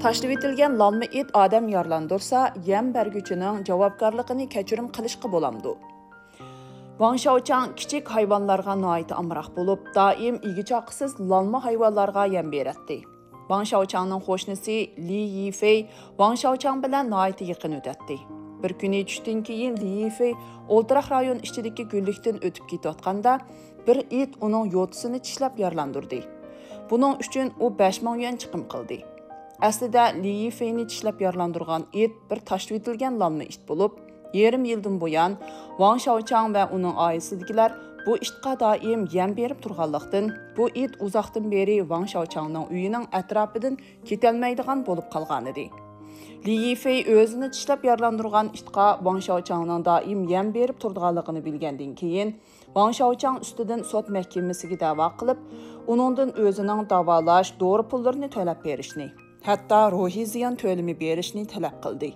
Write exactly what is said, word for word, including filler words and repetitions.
تاشلىۋېتىلگەن لالما ئىت ئادەم يارىلاندۇرسا، يەم بەرگۈچىنىڭ جاۋابكارلىقىنى كەچۈرۈم قىلىشقا بولامدۇ؟ ۋاڭ شياۋچاڭ كىچىك ھايۋانلارغا ناھايىتى ئامراق بولۇپ، دائىم ئىگە-چاقىسىز لالما ھايۋانلارغا يەم بېرەتتى. ۋاڭ شياۋچاڭنىڭ قوشنىسى لى يىفېي ۋاڭ شياۋچاڭ بىلەن ناھايىتى يېقىن ئۆتەتتى. بىر كۈنى چۈشتىن كېيىن لى يىفېي ئولتۇراق رايون ئىچىدىكى گۈللۈكتىن ئۆتۈپ كېتىۋاتقاندا، بىر ئىت ئۇنىڭ يوتىسىنى چىشلەپ يارىلاندۇردى. بۇنىڭ ئۈچۈن ئۇ بەش مىڭ يۈەن چىقىم قىلدى. ئەسلىدە لى يىفېينى چىشلەپ يارىلاندۇرغان ئىت بىر تاشلىۋېتىلگەن لالما ئىت بولۇپ، يېرىم يىلدىن بۇيان ۋاڭ شياۋچاڭ ۋە ئۇنىڭ ئائىلىسىدىكىلەر بۇ ئىتقا دائىم يەم بېرىپ تۇرغانلىقتىن، بۇ ئىت ئۇزاقتىن بېرى ۋاڭ شياۋچاڭنىڭ ئۆيىنىڭ ئەتراپىدىن كېتەلمەيدىغان بولۇپ قالغانىدى. لى يىفېي ئۆزىنى چىشلەپ يارىلاندۇرغان ئىتقا ۋاڭ شياۋچاڭنىڭ دائىم يەم بېرىپ تۇرىدىغانلىقىنى بىلگەندىن كېيىن، ۋاڭ شياۋچاڭ ئۈستىدىن سوت مەھكىمىسىگە دەۋا قىلىپ، ئۇنىڭدىن ئۆزىنىڭ داۋالاش، دورا پۇللىرىنى تۆلەپ بېرىشنى، ھەتتا روھىي زىيان تۆلىمى بېرىشنى تەلەپ قىلدى.